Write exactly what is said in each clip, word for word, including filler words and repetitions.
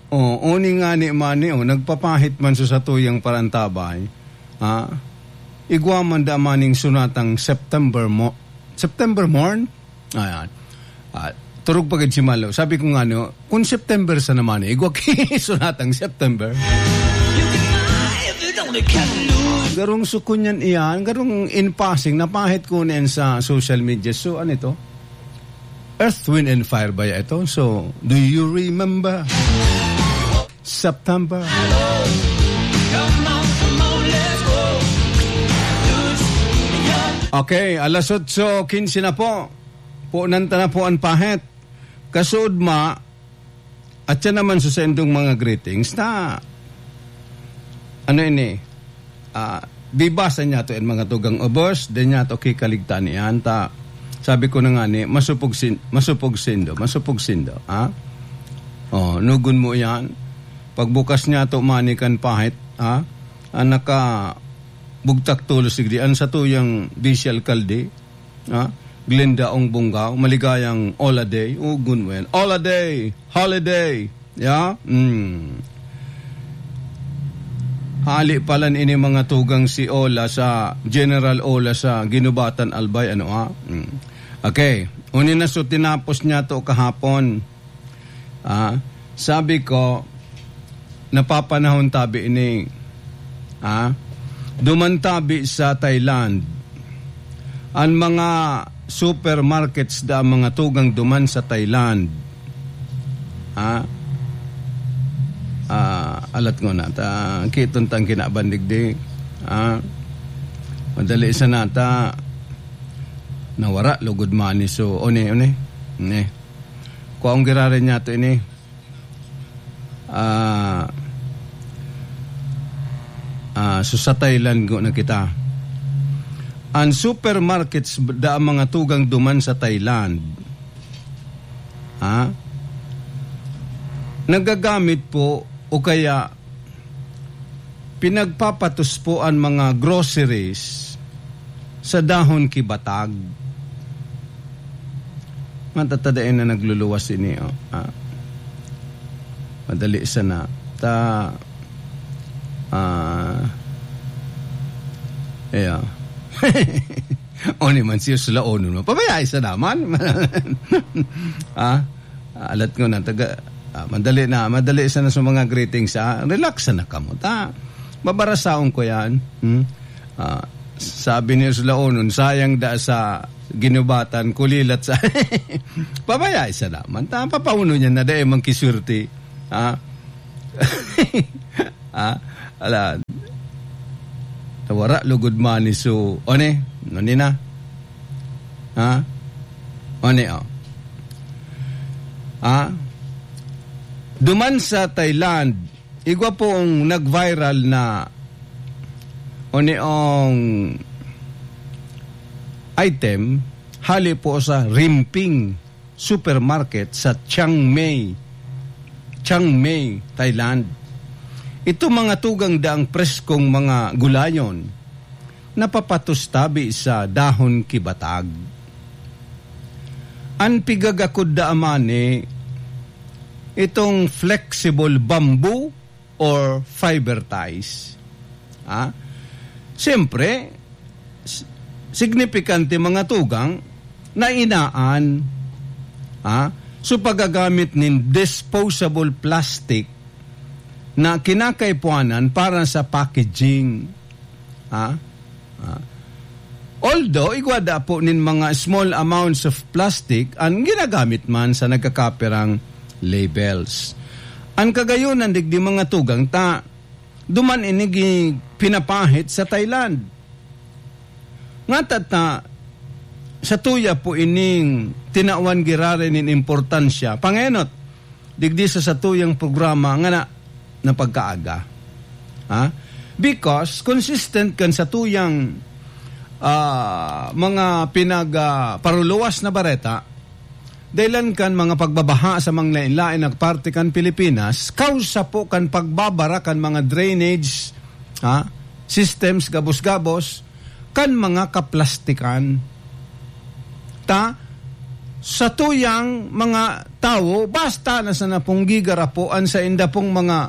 Oh, uni nga ni mani, oh, nagpapahit man sa satuyang parantabay. Ah, igwa man da maning sunatang September mo-, September morn? Ayan. Ah, turog pa gid si Malo. Sabi ko nga, no, kung September sa naman, eh, igwa ki sunatang September. Garong sukon yan iyan, garong in passing, napahit ko na yan sa social media. So, ano ito? Earth, Wind, and Fire ba ito? So, do you remember? September. Okay, alas otso quince na po. Punan ta na po an pahit. Kasuod ma, at siya naman sa sendong mga greetings na, ano ini, ah, bibasa niya to in mga tugang ubos, di niya to kikaligtaan iyan. Ta, sabi ko na nga ni, masupog sin-, masupog sindo, masupog sindo, ha? Oh, nugon mo iyan. Pagbukas niya to, mani kan pahit, ha? Ang naka bugtak tulos digdi, ang satuyang vice alkalde, ha? Glenda Ong Bunggaw, maligayang Ola Day. Oh, good well. Ola Day! Holiday! Ya? Mm. Hali palan ini mga tugang si Ola sa General Ola sa Ginubatan, Albay, ano, ah? Mm. Okay. Uni na, so tinapos niya to kahapon. Ah, sabi ko, napapanahon tabi ini. Ah, duman tabi sa Thailand. An mga supermarkets da mga tugang duman sa Thailand. Ah, ah, alat ko na. Ta, kiton tang kinabandig di. Ah, madali sa nata. Nawara, lugod mani. So, one, one. Ne. Kuwaong girarin niya to ini. Ah, ah, so sa Thailand go na kita. An supermarkets da mga tugang duman sa Thailand, ha? Nagagamit po o kaya pinagpapatos po an mga groceries sa dahon ki batag. Matatadain na nagluluwas ini, oh. Ah. Madali sana. Ta, ah, iya. O ni man siya sulaonon mo. Pabayai sa naman. Ah, alat ko na, taga, ah, madali na, madali sana sa mga greetings, ah. Relax na kamo, ta. Babarasaon ko yan. Hmm? Ah, sabi ni sulaonon, "Sayang da sa ginubatan, kulilat sa." Pabayai sa naman. Ta, papauno niya na dai man kiswerte. Ah? Ah? Ala. Nawara, lugod mani. So, one? Nani na? Ha? One, oh. Ha? Duman sa Thailand, igwa pong nag-viral na oniong item, hali po sa Rimping Supermarket sa Chiang Mai, Chiang Mai, Thailand. Ito mga tugang daang preskong mga gulayon, napapatos tabi sa dahon ki batag. An pigagakod da amani, itong flexible bamboo or fiber ties. Ha? Siyempre, s-, signifikante mga tugang na inaan, ha? So, paggagamit nin disposable plastic na kinakaipuanan para sa packaging. Ha? Ah. Although, igwa da po nin mga small amounts of plastic an ginagamit man sa nagkakapirang labels. An kagayonan, digdi mga tugang ta, duman ini gi-, pinapahit sa Thailand. Nga tata, sa tuya po ining tinawan giraray nin importansya. Pangenot, digdi sa satuyang programa nga na, na pagkaaga. Ha? Because consistent kan satuyang, ah, mga pinag, ah, paruluwas na bareta, dahilan kan mga pagbabaha sa mga lain-lain na parte kan Pilipinas, kausa po kan pagbabara kan mga drainage, ha, systems, gabos-gabos, kan mga kaplastikan. Ta, satuyang mga tawo, basta na sana pong gigarapo an sainda pong mga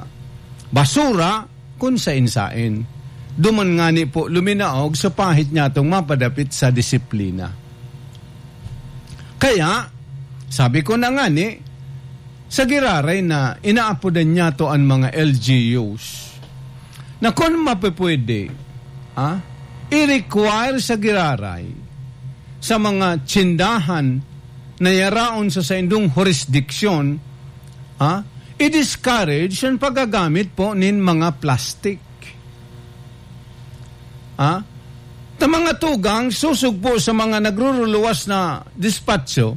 basura kun saen-saen. Duman ngani po luminaog sa pahit niyatong mapadapit sa disiplina. Kaya, sabi ko na ngani, sa giraray na inaapodan niyato an mga L G Us, na kun mapipwede, ah, i-require sa giraray sa mga tsindahan na yaraon sa saindong hurisdiksyon, ah, i-discourage an paggagamit po nin mga plastic. Ah, ta mga tugang, sosog po sa mga nagruruluwas na despatso,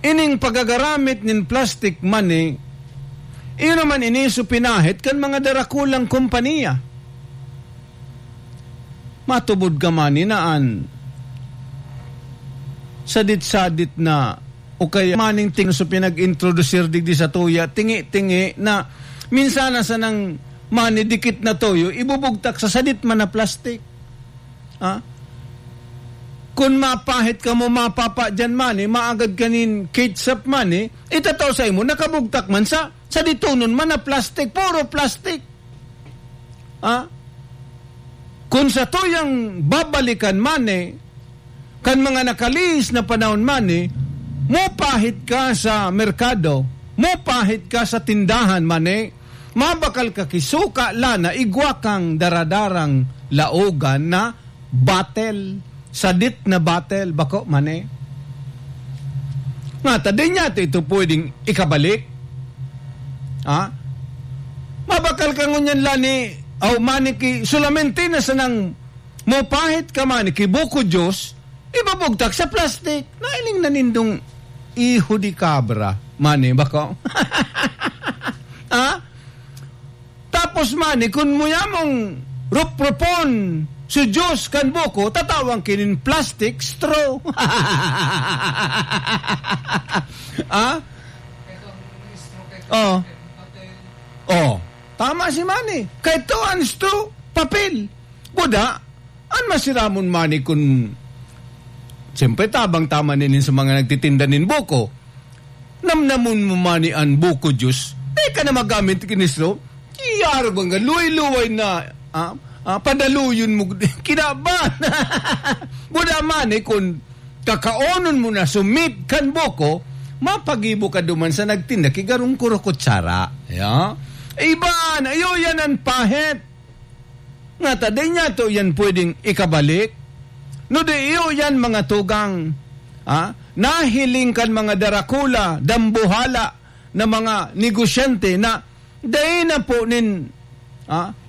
ining pagagaramit nin plastic money, iyo naman ini so pinahit kan mga darakulang kompanya. Matubod ka man inaan sadit-sadit na o kaya maning ting so pinag-introdusir digdi sa tuya, tingi-tingi na minsan na sanang manidikit na toyo, ibubugtak sa sadit man na plastic. Ha? Kun mapahit ka mo, mapapa diyan man eh, maagad ka nin ketchup man eh, itatao sa imo, nakabugtak man sa, sa ditonon man na plastic, puro plastic. Ha? Kun sa tuyang babalikan man eh, kan mga nakalihis na panahon man eh, mupahit ka sa merkado, mupahit ka sa tindahan man eh, mabakal ka ki suka, lana, igwa kang daradarang laogan na batel, sadit na batel, bako man eh. Nga ta, di niya ito, ito pwedeng ikabalik. Ha? Mabakal ka ngunyan lani, aw maniki, solamente na sanang mupahit ka maniki, buko juice, ibabugtak sa plastic. Nailing na nindong iho di kabra, mani, bako? Ha? Tapos mani, kun mo yamong ruprupon so juice kan buko, tatawan kinin plastic straw. Ah? Oh. Oh. Tama si mani. Kay to an straw, papel. Buda, an masiramon mani kun, siyempre, tabang tama ninin sa mga nagtitinda nin buko. Namnamon mo mani an buko juice, di ka na magamit kini straw. Iyarog ang luway-luway na, ah, ah, padaluyon mo, kinaban. Buda mani kun kakaonon mo na sumit kan buko, mapagibo ka duman sa nagtinda ki garong kurokutsara. Ya? Iba na, iyo yan an pahit. Nga ta, di niya to yan pwedeng ikabalik. No di iyo yan, mga tugang, ah, nahiling kan mga darakula, dambuhala na mga negosyante na dai na po nin, ah,